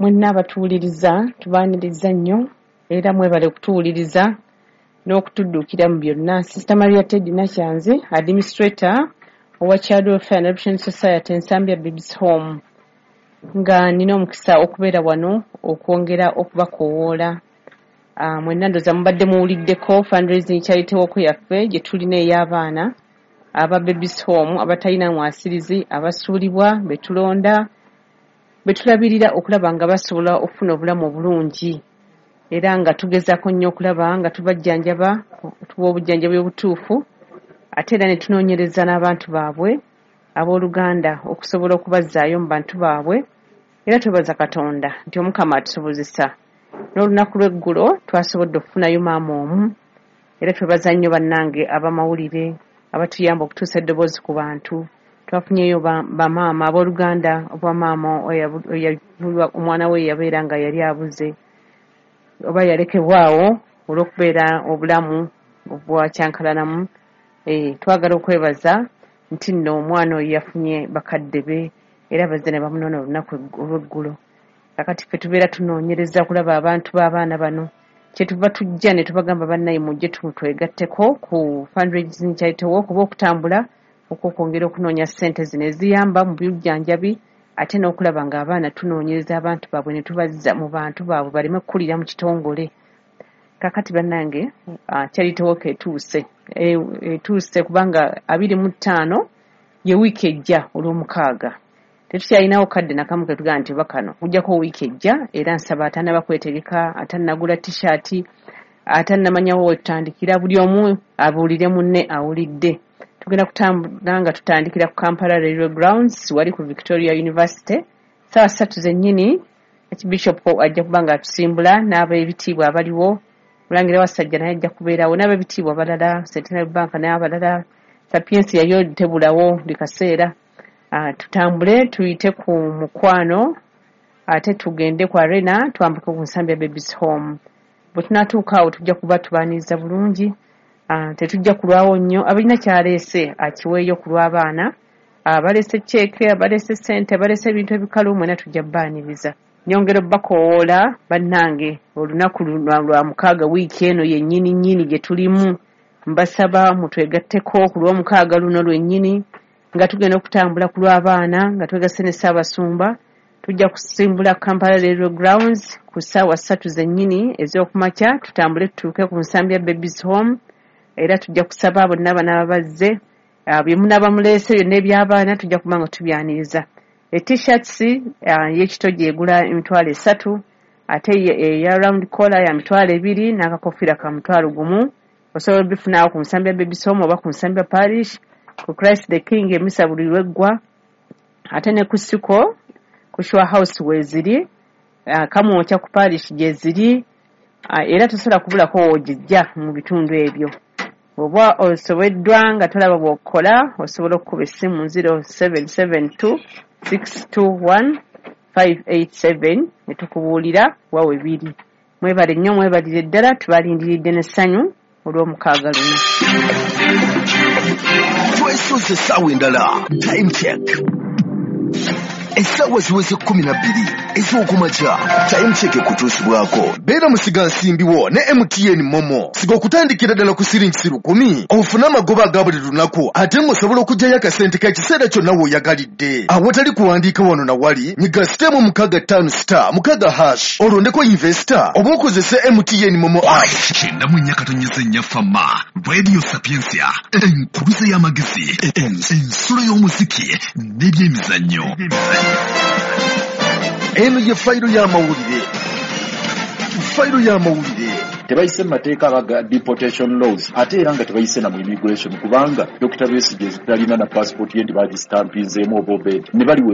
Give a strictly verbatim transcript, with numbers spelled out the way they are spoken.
Mwenna abatuwuliriza tubaaniriza nnyo era mwebale okutuwuliriza n'okutudduukira mu byonna. Sister Maria Teddy Nakyanzi, administrator owa Child Welfare and Adoption Society Nsambya Babies Home, nga nina omukisa okubeera wano okwongera okubakoowoola. Uh, mwenna ndowooza mubadde muwuliddeko fundraising charity walk yaffe gye tulina ey'abaana aba Babies Home abatalina mwasirizi, abasuulibwa, be tulonda, be tulabirira okulaba nga basobola okufuna obulamu obulungi, era nga tugezaako nnyo okulaba nga tubajjanjaba, tuwa obujjanjabi obutuufu, ate era ne tunoonyereza n'abantu baabwe abooluganda okusobola okubazzaayo mu bantu baabwe. Era twebaza Katonda nti Omukama atusobozesa. N'olunaku lw'eggulo twasobodde okufunayo maama omu, era twebaza nnyo bannange abamawulire abatuyamba okutuusa eddoboozi ku bantu. Twafunyeyo bamaama abooluganda oba maama omwana we yabeera nga yali abuze oba yalekebwawo olw'okubeera obulamu obwakyankalanamu. Eh, twagala okwebaza nti nno omwana oyo yafunye bakadde be era bazze ne bamunona olunaku olw'eggulo. Kakati ffe tubeera tunoonyereza okulaba abantu b'abaana bano, kyetuva tujja ne tubagamba, bannaye mujje twegatteko ku fundraising charity walk oba okutambula okw'okwongera okunoonya ssente zino eziyamba mu byujjanjabi, ate n'okulaba ng'abaana tunoonyereza abantu baabwe ne tubazza mu bantu baabwe baleme kukulira mu kitongole. Kakati bannange, charity walk etuuse, etuuse kubanga abiri mu ttaano ye wiiki ejja olw'omukaaga. Tetukyalinawo kadde nakamu ketugamba nti oba kano kujjako wiiki ejja. Era nsaba atannaba kwetegeka, atannagula T-shirt, atannamanyawo wetutandikira, buli omu abuulire munne awulidde. Tugenda kutambula nga tutandikira ku Kampala Railway Grounds, wali ku Victoria University, saawa ssatu zennyini. Archbishop ajja kuba nga atusimbula n'ab'ebitiibwa abaliwo. Mulangira Wasajja naye ajja kubeerawo n'ab'ebitiibwa abalala, Centenary Bank n'abalala. Sapiensia yo tebulawo buli kaseera. Uh, tutambule tuyite ku Mukwano, ate tugende ku Arena, twambuke ku Nsambya Babies Home. Bwe tunaatuuka awo tujja kuba tubaaniriza bulungi. uh, tetujja kulwawo nnyo. Abalina kyaleese akiweeyo ku lw'abaana, abaleese ceeke, abaleese ssente, abaleese ebintu ebikalu, mwena tujja bbaaniriza. Nyongera obbakoowoola bannange, olunaku lwa mukaaga wiiki eno yennyini nnyini gye tulimu, mbasaba mutwegatteko ku lw'omukaaga luno lwennyini nga tugenda okutambula ku lw'abaana nga twegasse ne Ssaabasumba. Tujja kusimbula Kampala Railway Grounds ku ssaawa ssatu zennyini ez'okumakya, tutambule tutuuke ku Nsambya Babies Home. Era tujja kusaba bonna banaaba bazze, bye munaaba muleese byonna eby'abaana tujja kuba nga tubyaniriza. E-T-shirts y'ekitogi egula emitwalo esatu, ate eya round collar ya mitwalo ebiri, n'akakofiira ka mutwalo gumu. Osobola obifunaawo ku Nsambya Babies Home oba ku Nsambya Parish, ku Christ the King emisa buli lweggwa, ate ne ku Siko ku Shore House weeziri, Kamwokya ku parish gyeziri, era tosobola kubulako woogijja mu bitundu ebyo. Oba osobeddwa nga tolaba bw'okola, osobola okukuba essimu zero seven seven two six two one five eight seven ne tukubuulira wa we biri. Mwebale nnyo, mwebalire ddala, tubalindiridde n'essanyu olw'omukaaga luno. Twesuze essaawa endala, time check. Essaawa ziweze kkumi na bbiri ez'okumakya. Time check ekutuusibwako beera musigansimbi wo ne M T N Momo. Siga okutandikira ddala ku siringi lukumi ofune amagoba aga buli lunaku, ate ng'osobola okuggyayo akasente k'ekiseera kyonna w'oyagalidde awatali kuwandiika wano na wali. Nyiga sitemu mukaaga ttaano star mukaaga hash olondeko investor oba okozese M T N Momo app. Kyenda mu nnya katonyeze nnya Fama Radio Sapiensia, enkuluze y'amagezi, ensulo y'omuziki n'ebyemizannyo. Eno ye fayiro y'amawulire. Fayiro y'amawulire. Tebayise mu mateeka aga deportation laws, ate era nga tebayise na mu immigration, kubanga Doctor Besigye talina na passport ye nti bagistampinzeemu oba obed ne bali we